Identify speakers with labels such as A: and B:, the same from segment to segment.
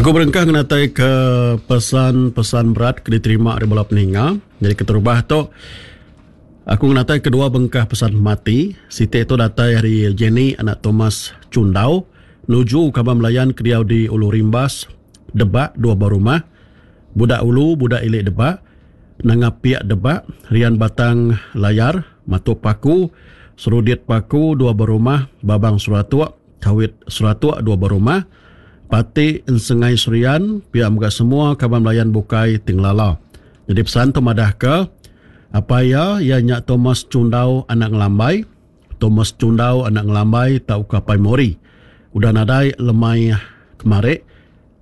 A: Aku berengkah ngenataika pesan-pesan berat ke diterima ari bala peninga. Nyadi keterubah tu, aku ngenataika dua bengkah pesan pemati. Siti tu datai ari Jenny anak Thomas Chundau nuju kaban belayan ke diau di Ulu Rimbas, Debak, dua buah rumah, Budak Ulu, Budak Ili Debak, Nanga Piak Debak, Rian Batang Layar, Matup Paku, Serudit Paku, dua buah rumah, Babang Seratuk, Kawit Seratuk dua buah rumah, Pati Ensengai Serian pia mega semua kaban belayan bukai ti ngelala. Nyadi pesan tu madahka apai iya iya nya Thomas Chundau anak Ngelambai, Thomas Chundau anak Ngelambai tauka Apai Mori udah nadai lemai kemari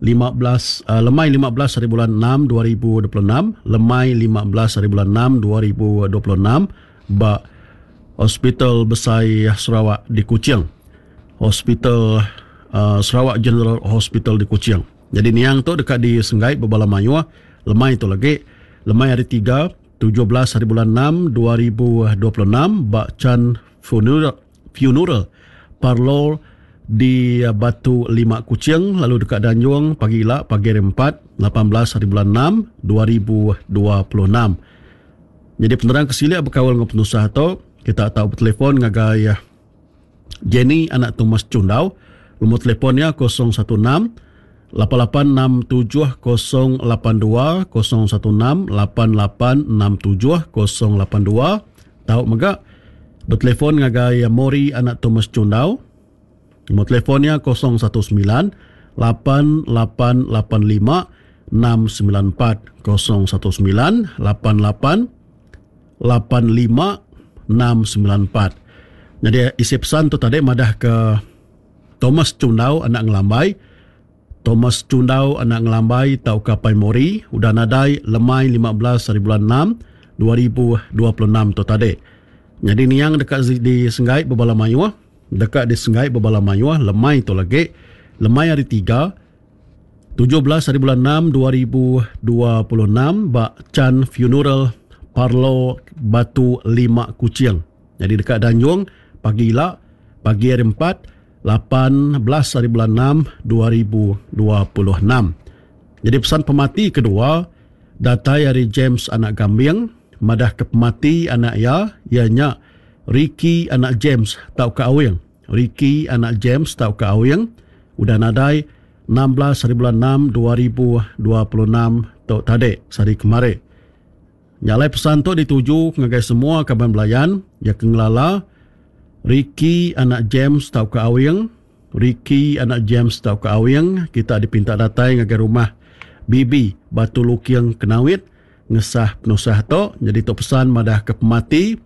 A: 15 lemai 15 hari bulan 6 2026 lemai 15 hari bulan 6 2026 ba Hospital Besai Sarawak di Kuching. Hospital uh, Sarawak General Hospital di Kuching. Jadi niang tu deka disenggai bebala mayuh lemai tu lagi lemai hari 3 17 hari bulan 6 2026 ba Chan Funeral Funeral Parlour di Batu Lima Kuching lalu deka dianjung pagi ila pagi hari Empat, 18 hari bulan Enam 2026. Nyadi penerang ke silik bekaul enggau penusah tu, kita tau betelefon ngagai Jenny anak Thomas Chundau, lumur telefon iya 016 8867 082 016 8867 082. Tau mega betelefon ngagai Mori anak Thomas Chundau. Nombor telefon iya 019 8885 694 019 88 85 694. Nyadi isi pesan tu tadi madah ke Thomas Chundau anak Ngelambai Thomas Chundau anak Ngelambai tauka Apai Mori udah nadai lemai 15 hari bulan 6 2026 tu tadi. Nyadi niang deka disenggai bebala mayuh deka disenggai bebala mayuh lemai tu lagi lemai hari tiga 17 hari bulan 6 2026 ba Chan Funeral Parlo Batu Lima Kuching. Nyadi deka danjung pagi ila pagi hari empat 18 hari bulan 6 2026. Nyadi pesan pemati kedua datai ari James anak Gambing madah ke pemati anak iya iya nya Ricky anak James tauka Awing. Ricky anak James tauka Awing udah nadai 16 hari bulan 6 2026 tu tadi sehari kemari. Nya alai pesan tu dituju ngagai semua kaban belayan iya ke ngelala Ricky anak James tauka Awing. Ricky anak James tauka Awing kita dipinta datai ngagai rumah Bibi Batu Luking Kenawit ngesah penusah tu. Nyadi tu pesan madah ke pemati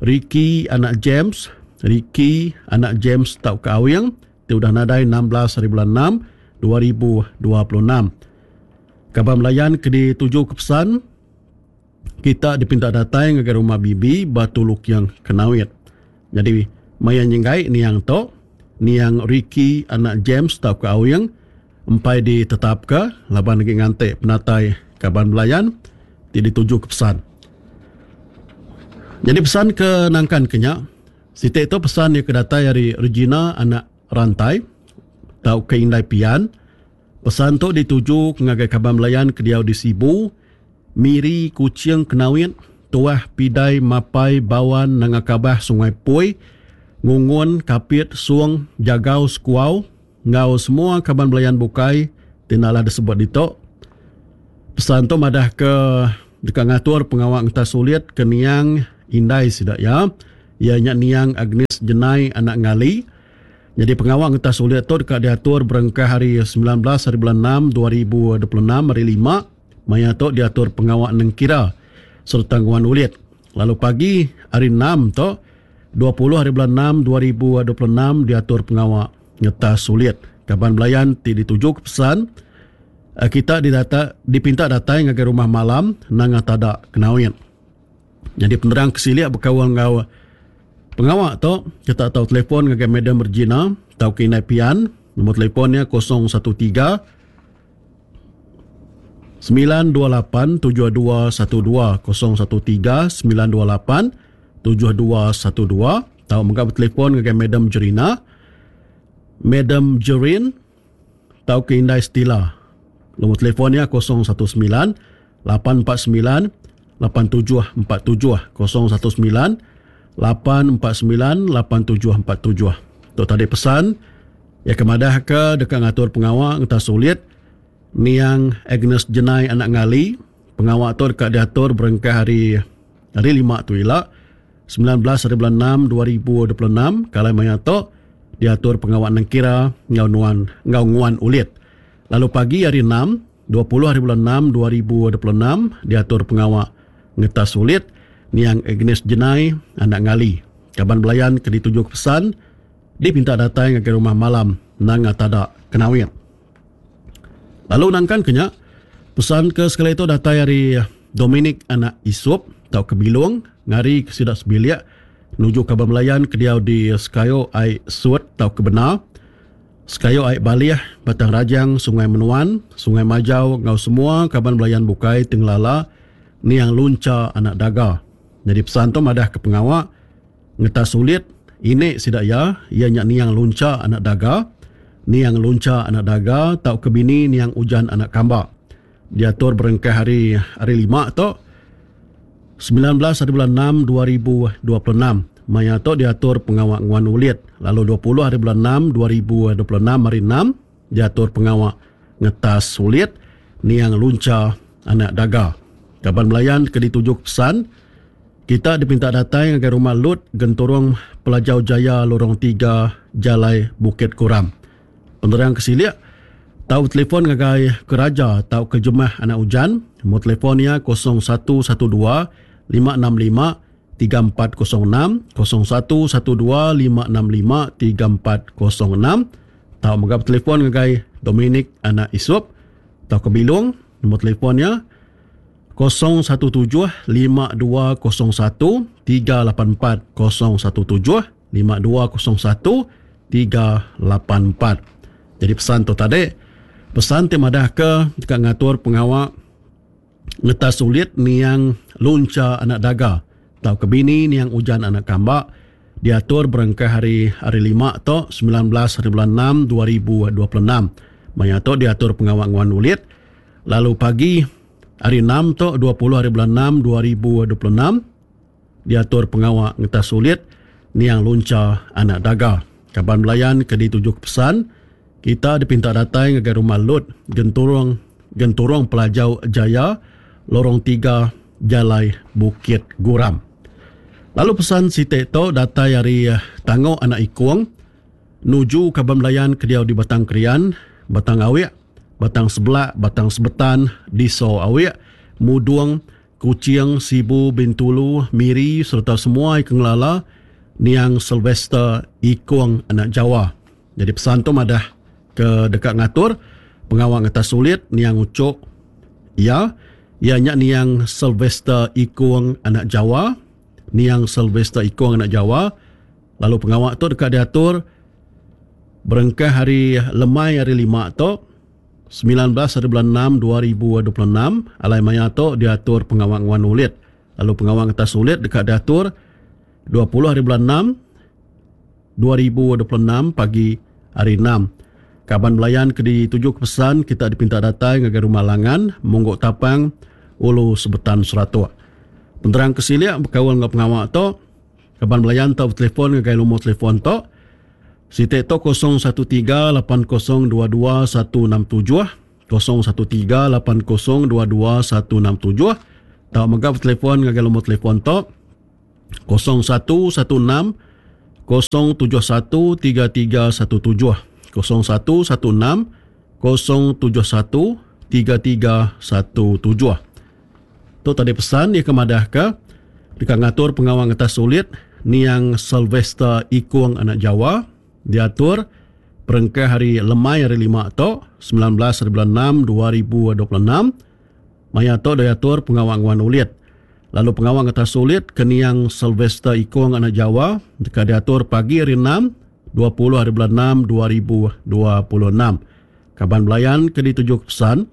A: Ricky anak James Ricky anak James tauka Awing ti udah nadai 16 hari bulan 6 2026. Kaban belayan ke dituju ke pesan kita dipinta datai ngagai rumah Bibi Batu Luking Kenawit. Nyadi maya nyenggai niang tu, niang Ricky anak James tauka Awing empai ditetapka laban agi nganti penatai kaban belayan ti dituju ke pesan. Nyadi pesan ke nangkan ke nya, siti tu pesan iya ke datai ari Regina anak Rantai tauka Indai Pian. Pesan tu dituju ngagai kaban belayan ke diau di Sibu, Miri, Kuching, Kenawit, Tuah, Pidai, Mapai, Bawan, Nanga Kabah, Sungai Pui, Ngungun, Kapit, Song, Jagau, Sekuau enggau semua kaban belayan bukai ti enda alah disebut ditu. Pesan tu madahka deka ngatur pengawa ngetas ulit ke niang indai sida iya, iya nya niang Agnes Jenai anak Ngali. Nyadi pengawa ngetas ulit tu deka diatur berengkah hari 19 hari bulan 6 2026 hari lima maya tu diatur pengawa nengkira sereta nguan ulit. Lalu pagi hari 6 tu 20 hari bulan 6 2026 diatur pengawa ngetas ulit. Kaban belayan ti dituju ke pesan eh, kita didata, dipinta datai ngagai rumah malam Nanga Tada Kenawit. Nyadi penerang ke silik bekaul enggau pengawa tu, kita tau telefon ngagai Madam Regina tauka Indai Pian. Nombor telefon iya 013 928 7212 013 928 7212 tau mega betelefon ngagai Madam Jerina, Madam Jerin tauka Indai Stila. Lumur telefon iya 019 849 8747 019 849 8747. Tu tadi pesan iya ke madahka deka ngatur pengawa ngetas ulit niang Agnes Jenai anak Ngali. Pengawa tu deka diatur berengkah hari hari lima tu ila 19 hari bulan 6 2026 ke alai maya tu diatur pengawa nengkira enggau nuan enggau nguan ulit. Lalu pagi hari 6 20 hari bulan 6 2026 diatur pengawa ngetas ulit niang Agnes Jenai anak Ngali. Kaban belayan ke dituju ke pesan dipinta datai ngagai rumah malam Nanga Tada Kenawit. Lalu nangkan ke nya, pesan ke sekali tu datai ari Dominic anak Isup tauka Bilong ngari ke sida sebilik nuju kaban belayan ke diau di Sekayu Ai Sut tauka Bena, Sekayu Ai Balih, Batang Rajang, Sungai Menuan, Sungai Majau enggau semua kaban belayan bukai ti ngelala niang Luncha anak Daga. Nyadi pesan tu madah ke pengawa Ngetas ulit ini sida iya, iya nya niang Luncha anak Daga, niang Luncha anak Daga tauka bini niang Ujan anak Kamba. Diatur berengkah hari hari lima tu 19 hari bulan 6 2026. Maya tu diatur pengawa nguan ulit lalu 20 hari bulan 6 2026 hari 6 diatur pengawa ngetas ulit niang Luncha anak Daga. Kaban belayan ke dituju pesan Kita dipinta datai ngagai Rumah Lut, Genturung Pelajau Jaya Lorong 3, Jalai Bukit Kuram. Penerang ke silik, tau betelefon ngagai Keraja tauka Jemah Anak Ujan, nombor telefon iya 0112 565 3406, 0112 565 3406. Tau mega betelefon ngagai Dominic Anak Isup tauka Bilung, nombor telefon iya 017 5201 384 017 5201 384. Jadi pesan tu tadi pesan ti madahka deka ngatur pengawa ngetas ulit niang Luncha anak Daga tauka bini niang Ujan anak Kamba diatur berengkah hari hari lima tu 19 hari bulan 6 2026. Maya tu diatur pengawa nguan ulit Lalu pagi hari 6 tu 20 hari bulan 6 2026 diatur pengawa ngetas ulit niang Luncha anak Daga. Kaban belayan ke dituju ke pesan kita dipinta datai ngagai Rumah Lut Genturung Genturung Pelajau Jaya Lorong 3 Jalai Bukit Guram. Lalu pesan siti tu datai ari Tangok anak Ikong nuju kaban belayan ke diau di Batang Krian, Batang Awik, Batang Sebelak, Batang Sebetan, Diso Awik, Mudung, Kuching, Sibu, Bintulu, Miri sereta semua ke ngelala niang Sylvester Ikong anak Jawa. Nyadi pesan tu madah ke deka ngatur pengawa ngetas ulit niang Uchok iya, iya nya niang Sylvester Ikong anak Jawa, niang Sylvester Ikong anak Jawa lalu pengawa tu deka diatur Berengkah hari lemai hari lima tu, 19 hari bulan 6 2026, alai maya tu diatur pengawa nguan ulit. Lalu pengawa ngetas ulit deka diatur 20 hari bulan 6 2026 pagi hari 6. Kaban belayan ke dituju ke pesan kita dipinta datai ngagai Rumah Langan, Mungguk Tapang, Ulu Sebetan Seratok. Penerang ke silik bekaul enggau pengawa tu, Kaban belayan tau betelefon ngagai lumur telefon tu. Siti tu 013 8022 167 013 8022 167 tau mega betelefon ngagai lumur telefon tu 0116 071 3317 0116 071 3317. Tu tadi pesan iya ke madahka deka ngatur pengawa ngetas ulit niang Sylvester Ikung anak Jawa diatur perengkah hari lemai hari lima tu 19 hari bulan 6 2026 maya tu diatur pengawa nguan ulit lalu pengawa ngetas ulit ke niang Sylvester Ikung anak Jawa deka diatur pagi hari 6 20 hari bulan 6 2026. Kaban belayan ke dituju ke pesan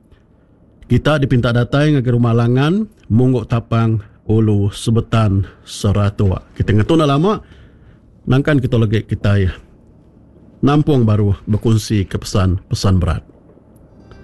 A: Kita dipinta datai ngagai Rumah Langan, Mungguk Tapang, Ulu Sebetan, Seratok. Kita ngetu enda lama nangkan kita legi kitai nampung baru bekunsi ke pesan pesan berat.